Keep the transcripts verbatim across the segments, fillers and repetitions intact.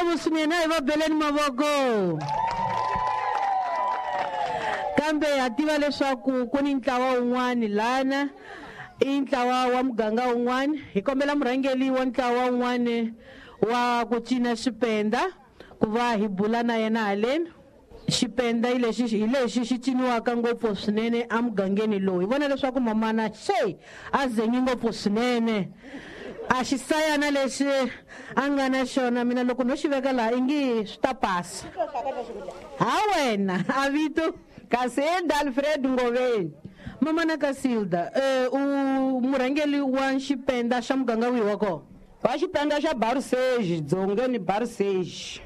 Ngopfu swinene, a hi va beleni mavoko. Kambe ha tiva leswaku ku ni ntlawa wun'wani lana, i ntlawa wa muganga wun'wani. Hi kombela murhangeri wa ntlawa wun'wani wa ku cina xipenda ku va hi bula na yena haleni. Xipenda hi lexi, hi lexi xi ciniwaka ngopfu swinene emugangeni lowu. Hi vona leswaku mamana xe a zengi ngopfu swinene, a xisayana lexi a nga na xona, mina loko no xi veka laha i nge swi ta pasa. Ha wena a vito Casilda Alfred Ngoveni. Mamana Casilda, eh, u murhangeri wa xipenda xa muganga wihi wa kona? Wa xipenda xa Baruseji, Dzongeni Baruseji.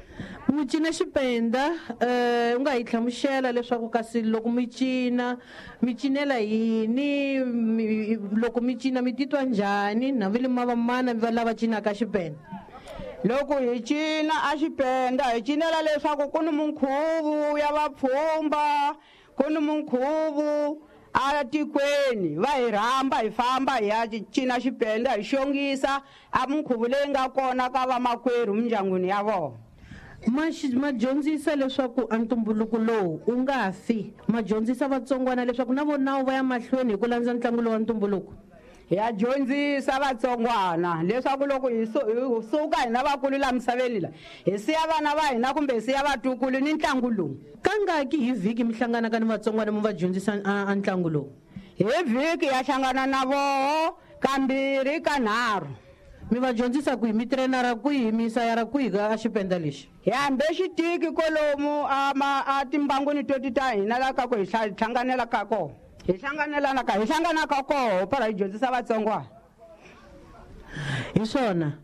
Mi cina xipenda, eh, u nga hi hlamusela leswaku kasi loko mi cina, mi cinela yini? Mi, loko mi cina mi titwa njhani? Na vi le mavamana va lava cinaka xipenda. Loko hi cina a xipenda hi cinela leswaku ku ni minkhuvo ya vapfhumba, ku ni minkhuvo a tikweni, va hi rhamba hi famba hi ya cina xipenda, hi xongisa a minkhuvo leyi nga kona ka vamakwerhu mindyangwini ya vona. Ma xi-, ma dyondzisa leswaku a ntumbuluko lowu wu nga fi, ma dyondzisa vatsongwana leswaku na vona va ya mahlweni hi ku landza ntlangu lowu wa ntumbuluko. Ya dyondzisa vatsongwana leswaku loko hi su-, hi suka hina vakulu la misaveni la, hi siya vana va hina kumbe hi siya vatukulu ni ntlangu lowu. Kangaki hi vhiki mi hlanganaka ni vatsongwana mi va dyondzisa a, a ntlangu lowu? Hi vhiki ya hlangana na voho kambirhi kanharhu. Mi va dyondzisa kwihi? Mi trainara kwihi? Mi sayara kwihi ka xipenda lexi? Hi hambe xitiki kolomu a ma, a timbangwini to ti ta hina la ka ku hi hla-, hlanganela ka kona. Hi hlanganelana ka, hi hlangana ka koho para hi dyondzisa vatsongwana. Hi swona.